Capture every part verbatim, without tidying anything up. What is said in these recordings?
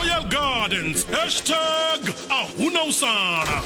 Royal Gardens. Hashtag a huna u sala.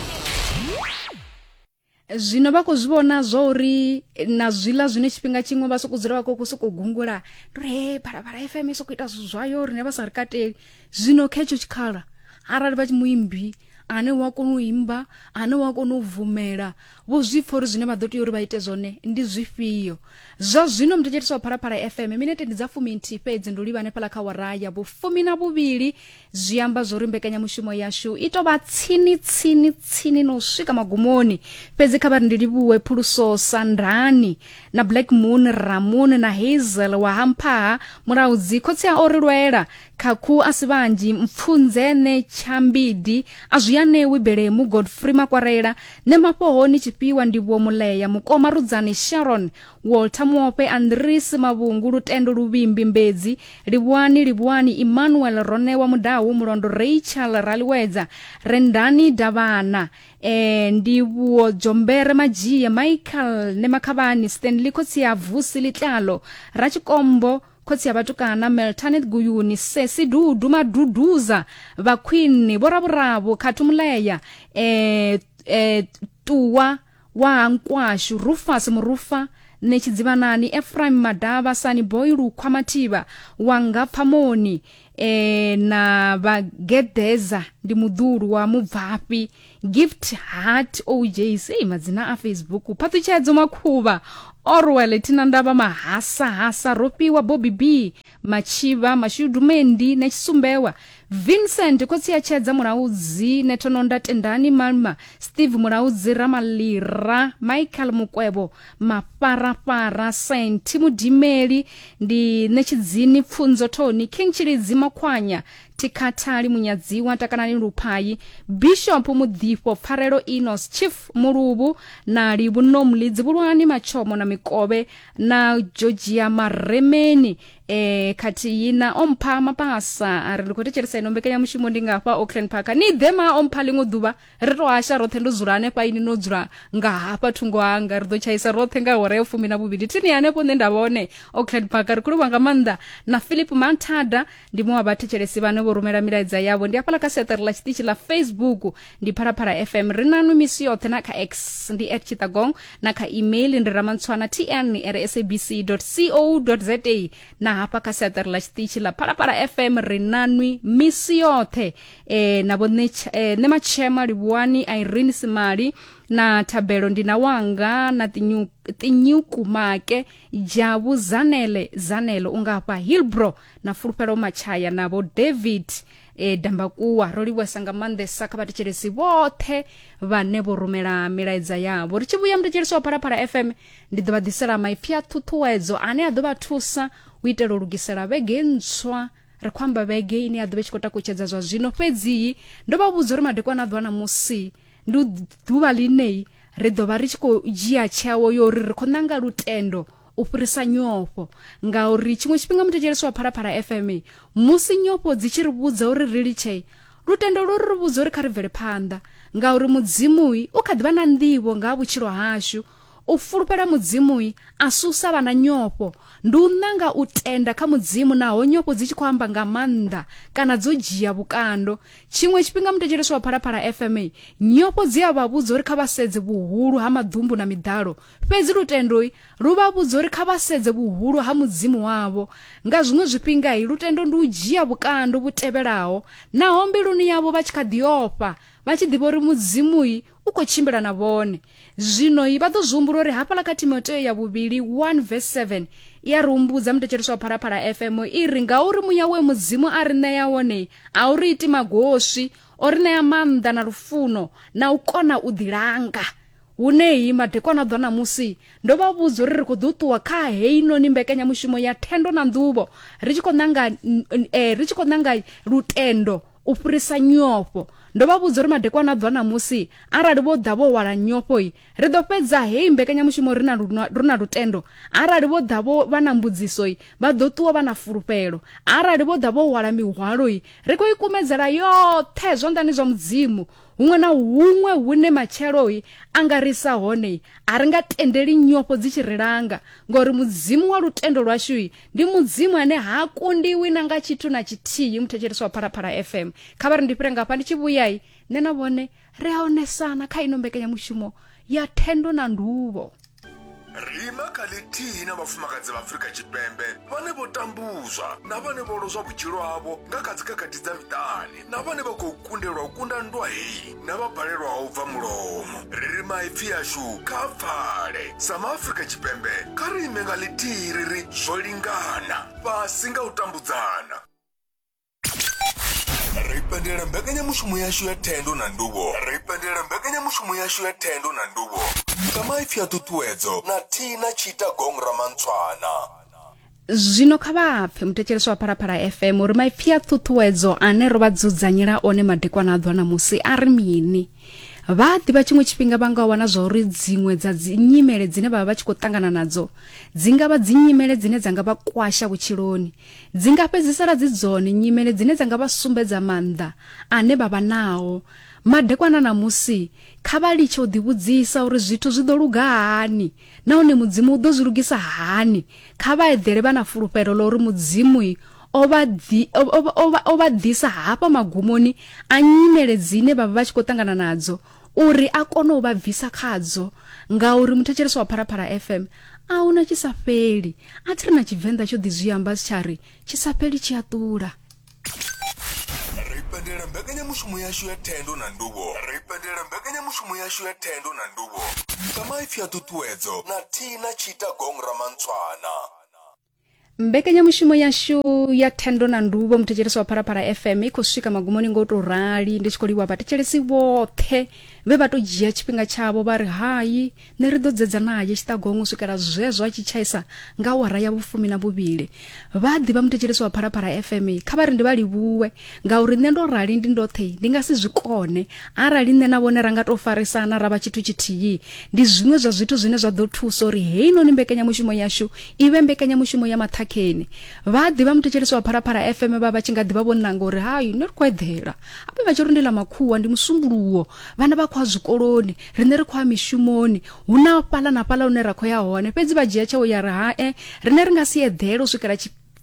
Zwino vha khou zwi vhona zwo uri na zwiḽa zwine tshifhinga tshiṅwe vha sokou dzula vha khou sokou gungula, ndi uri he Phalaphala F M i sokou ita zwithu zwayo rine vha sa ri kateli. Zwino kha hetsho tshikhala arali vha tshi muimbi ane wa kona u imba, ane wa kona u bvumela, vho zwi pfa uri zwine vha ḓo tea uri vha ite zwone ndi zwifhio. Zwa zwino muthetshelesi wa Phalaphala F M, minete ndi dza fuminthihi fhedzi ndo livha hanefhaḽa kha awara ya vhufumi na vhuvhili. Zwi amba zwo uri mbekanyamushumo yashu i tou vha tsini tsini tsini no swika magumoni. Fhedzi kha vha ri ndi livhuwe Phuluso Sandani na Black Moon Ramon na Hazel wa Hamphaha Mulaudzi, khotsi a o ri lwela Khakhu a si vhanzhi, Mpfunzene Tshambidi, a zwi anewi Belemu, Godfrey Makwarela, Nemafhohoni Tshifhiwa, Ndivhuwo Muleya, Mukoma Rudzani, Sharon Walter Muope, Andris Mavhungu, Lutendo Luvhimbi Mbedzi, Livhuwani Livhuwani, Emmanuel Ronewa Mudau, Mulondo Rachel Raliwedza, Rendani Davhana, eh, Ndivhuwo Jombere Madzhie, Michael Nemakhavhani, Stanley khotsi ya Vusi Litlalo, Ratshikombo khotsi ya vhatukana, Meltanet Guyuni, Sesi Dudu Maduduza, Vhakhwini Vhoravhuravhu, Khathu Muleya, eh, eh, Tuwa wa Nkwashu, Rufus Murufa, Netshidzivhanani, Ephraim Madavha, Sani Boy Lukhwa Mathivha, Wanga Pfamoni, eh, na Vhagedeza ndi muḓulu wa Mubvafhi, Gift Heart O J C, madzina a Facebook, Phaṱhutshedzo Makhuvha, Orwell Thinandavha, Mahasa Hasa, Rofhiwa Bobby B, Matshivha Mashudu Mendi, Netshisumbewa, Vincent khotsi ya Tshedza Mulaudzi, Nethononda Tendani Malma, Steve Mulaudzi Ramalira, Michael Mukwevho, Mafarafara, Saint Mudimeli, ndi Netshidzini Pfunzo Thoni, King Tshilidzi Makhwanya, Tikhathali Munyadziwa, Takanani Luphayi, Bishop Mudifho, Pfarelo Enos, Chief Muluvhu na Livhunomli, Dzivhulwani Matshomo na Mikovhe na Georgia Maremeni, eh khathihi na Ompha Mapasa. A ri ndi khou thetshelesa ino mbekanyamushumo ndi ngafha Auckland Park. Ni ḓe ma Ompha ḽiṅwe ḓuvha ri to hasha roṱhe, ndo dzula hanefha ini no dzula nga hafha thungo hanga, ri ḓo tshaisa roṱhe nga hora ya fumi na vhuvhili thini hanefho nṋe nda vhone Auckland Park. Ri khou livhuwa nga maanḓa na Philip Manthada, ndi muṅwe wa vhathetshelesi vhane vho rumela milaedza yavho. Ndi hafhaḽa kha siaṱari ḽa tshiṱitshi ḽa Facebook ndi Phalaphala F M, ri nanwi misi yoṱhe, na kha X ndi at Chittagong, na kha email ndi ramantswana tn at sabc dot co dot za, na hafha kha siaṱari ḽa tshiṱitshi ḽa Phalaphala F M ri nanwi misi yoṱhe. E, na vho Nematshema Livhuwani, Irene Simali na Thabelo ndi na wanga na Tinyuku Make, Jabu Zanele Zanele ungafha Hillbro na Fulufhelo Machaya na vho David e, Dambakuwa. Ro livhuwesa nga maanḓesa kha vhathetshelesi vhoṱhe vhane vho rumela milaedza yavho. Ri tshi vhuya muthetshelesi wa Phalaphala F M, ndi ḓo vha ḓisela maipfi a ṱhuṱhuwedzo ane a ḓo vha thusa u itela u lugisela vhege ntswa. Ri khou amba vhege ine ya ḓo vha tshi khou takutshedza zwa zwino, fhedzi ndo vha vhudza uri madekwana a ḓuvha ṋamusi ndi ḓuvha ḽine ri ḓo vha ri tshi khou dzhia tsheo yo uri ri khou ṋanga lutendo u fhirisa nyofho, ngauri tshiṅwe tshifhinga muthetshelesi wa Phalaphala F M, musi nyofho dzi tshi ri vhudza uri ri litshe, lutendo lwo ri vhudza uri kha ri bvele phanḓa, ngauri Mudzimu u kha ḓivha na nḓivho nga ha vhutshilo hashu. U fulufhela Mudzimu a susa vha na nyofho ndi u ṋanga u tenda kha Mudzimu naho nyofho dzi tshi khou amba nga maanḓa kana dzo dzhia vhukando. Tshiṅwe tshifhinga muthetshelesi wa Phalaphala F M, nyofho dzi a vha vhudza uri kha vha sedze vhuhulu ha maḓumbu na miḓalo, fhedzi lutendo lu vha vhudza uri kha vha sedze vhuhulu ha Mudzimu wavho. Nga zwiṅwe zwifhinga lutendo ndi u dzhia vhukando vhu tevhelaho naho mbiluni yavho vha tshi kha ḓi ofha, vha tshi ḓivha uri Mudzimu u khou tshimbila na vhone. Zwino vha ḓo zwi humbula uri hafhaḽa kha Timotheo ya vhuvhili one verse seven i a ri humbudza muthetshelesi wa Phalaphala F M, i ri ngauri muya we Mudzimu a ri ṋea wone a u ri iti magoswi, o ri ṋea maanḓa na lufuno na u kona u ḓilanga. Huneyi madekwana ḓo ṋamusi ndo vha vhudza uri ri khou ḓo ṱuwa kha heinoni mbekanyamushumo ya thendo na nḓuvho ri tshi khou ṋanga eh, ri tshi khou ṋanga lutendo u fhirisa nyofho. Ndo vha vhudza uri madekwana ḓo ṋamusi arali vho ḓa vho hwala nyofho ri ḓo fhedza heyi mbekanyamushumo ri na ri na lutendo. Arali vho ḓa vho vha na mbudziso vha ḓo ṱuwa vha na fulufhelo. Arali vho ḓa vho hwala mihwalo ri khou i kumedzela yoṱhe zwanḓani zwa Mudzimu. Huṅwe na huṅwe hune matsheloi a nga ri sa hone, a ri nga tendeli nyofho dzi tshi ri langa, ngori Mudzimu wa lutendo lwashu ndi Mudzimu ane ha kundiwi na nga tshithu na tshithihi. Muthetshelesi wa Phalaphala F M, kha vha ri ndi fhire ngafha ndi tshi vhuyai nṋe na vhone ri a onesana kha ino mbekanyamushumo ya Thendo na Nduvho. Ri ima kha ḽithihi na vhafumakadzi vha Afrika Tshipembe vhane vho tambuzwa na vhane vho lozwa vhutshilo havho nga kha dzikhakhathi dza miṱani, na vhane vha khou kundelwa u kunda nndwa heyi na vha balelwaho u bva mulomo. Ri ri maipfi ashu kha pfale. Sa maAfrika Tshipembe kha ri ime nga ḽithihi ri ri zwo lingana, fhasi nga u tambudzana. Ri pendela mbekanyamushumo yashu ya Thendo na Nduvho. Ri pendela mbekanyamushumo yashu ya Thendo na Nduvho nga maipfi a ṱhuṱhuwedzo na Thina Tshita Gong Ramantswana. Zwino kha vha pfe muthetshelesi wa Phalaphala F M uri maipfi a ṱhuṱhuwedzo ane ro vha dzudzanyela one madekwana a ḓwa ṋamusi a ri mini. Vha ḓivha tshiṅwe tshifhinga vha nga wana zwa uri dziṅwe dza dzi nyimele dzine vha vha vha tshi khou ṱangana nadzo dzi nga vha dzi nyimele dzine dza nga vha kwasha vhutshiloni, dzi nga fhedzisela dzi dzone nyimele dzine dza nga vha sumbedza maanḓa ane vha vha nao. Madekwana ṋamusi kha vha litshe u ḓivhudzisa uri zwithu zwi ḓo luga hani nahone Mudzimu u ḓo zwi lugisa hani. Kha vha eḓele vha na fulufhelo ḽa uri Mudzimu o vha ḓi o vha ḓisa hafha magumoni a nyimele dzine vha vha vha tshi khou ṱangana nadzo uri a kone u vha bvisa khadzo. Ngauri muthetshelesi wa Phalaphala F M, a huna tshi sa fheli. A thi ri na Tshivenḓa tsho ḓi zwi amba tsha ri tshi sa fheli tshi a ṱula. Ri pendela mbekanyamushumo yashu ya Thendo na Nduvho. Ri pendela mbekanyamushumo yashu ya Thendo na Nduvho nga maipfi a ṱhuṱhuwedzo na Thina Tshita Gong Ramantswana. Mbekanyamushumo yashu ya Thendo na Nduvho muthetshelesi wa Phalaphala F M i khou swika magumoni ngo to rali. Ndi tshi khou livhuwa vhathetshelesi vhoṱhe vhe vha to dzhia tshifhinga tshavho vha ri hai nṋe ri ḓo dzedza naye Tshiṱagong u swikela zwezwo a tshi tshaisa nga awara ya vhufumi na vhuvhili. Vha ḓivha muthetshelesi wa Phalaphala F M, kha vha ri ndi vha livhuwe ngauri nṋe ndo rali ndi ndoṱhe ndi nga si zwi kone. Arali nṋe na vhone ra nga to farisana ra vha tshithu tshithihi, ndi zwiṅwe zwa zwithu zwine zwa ḓo thusa uri heinoni mbekanyamushumo yashu i vhe mbekanyamushumo ya maṱhakheni. Vha ḓivha muthetshelesi wa Phalaphala F M vha vha tshi nga ḓivha vho nanga uri hai nṋe ri khou eḓela habe vha tshi ri ndi ḽa makhuwa ndi musumbuluwo, vhana vha khou ya zwikoloni, riṋe ri khou ya mishumoni, hu na fhaḽa na fhaḽa hune ra khou ya hone. Fhedzi vha dzhia tsheo ya ri hae riṋe ri nga si eḓele u swikela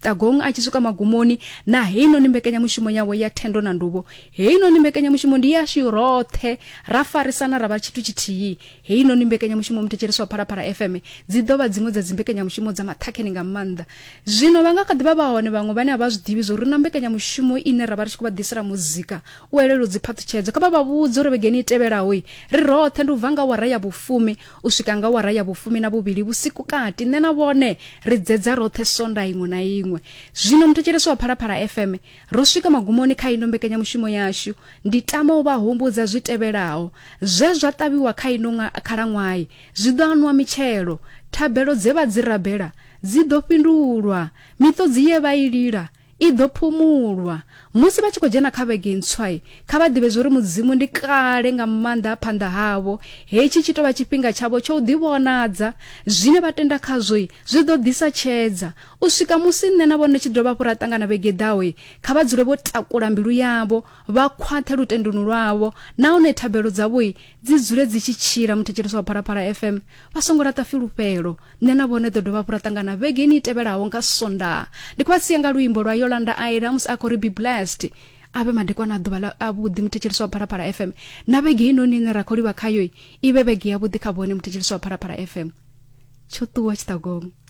Tshiṱagong a tshi swika magumoni na heinoni mbekanyamushumo yawe ya Thendo na Nduvho. Heinoni mbekanyamushumo ndi yashu roṱhe, ra farisana ra vha tshithu tshithihi. Heinoni mbekanyamushumo muthetshelesi wa Phalaphala F M dzi ḓo vha dziṅwe dza dzi mbekanyamushumo dza maṱhakheni nga maanḓa. Zwino vha nga kha ḓi vha vha hone vhaṅwe vhane a vha zwi ḓivhi zwo ri na mbekanyamushumo ine ra vha ri tshi khou vha ḓisela muzika u elelwa dzi phaṱhutshedzo. Kha vha vha vhudze uri vhegeni i tevhelaho ri roṱhe ndi u bva nga awara ya vhufumi u swika nga awara ya vhufumi na vhuvhili vhusiku kati, nṋe na vhone ri dzedza roṱhe sonda iṅwe na iṅwe. Zwino muthetshelesi wa Phalaphala F M, ro swika magumoni kha ino mbekanyamushumo yashu. Ndi tama u vha humbudza zwi tevhelaho. Zwe zwa ṱavhiwa kha ino khalaṅwaha zwi ḓo anwa mitshelo, thabelo dze vha dzi rabela dzi ḓo fhindulwa, miṱodzi ye vha i lila i ḓo phumulwa. Musi vha tshi khou dzhena kha vhege ntswa, kha vha ḓivhe uri Mudzimu ndi kale nga maanḓa phanḓa havho. Hetshi tshi tovha tshifhinga tshavho tsho u ḓivhonadza. Zwine vha tenda khazwo zwi ḓo ḓisa tshedza. U swika musi nṋe na vhone tshi dovha hafhu ra ṱangana vhege ḓaho, kha vha dzule vho takula mbilu yavho, vha khwaṱhe lutendoni lwavho, nahone thabelo dzavho dzi dzule dzi tshi tshila. Muthetshelesi wa Phalaphala F M, vha songo laṱa fulufhelo. Nṋe na vhone ḓo dovha hafhu ra ṱangana vhegeni i tevhelaho nga Sondaha. Ndi khou vha sia nga luimbo lwa Yolanda Aida musi a khou ri be blessed. A vhe madekwana a ḓuvha ḽa avhuḓi muthetshelesi wa Phalaphala F M. Na vhege inoni ine ra khou livha khayo i vhe vhege yavhuḓi kha vhone muthetshelesi wa Phalaphala F M. Tsho ṱuwa Tshiṱagong.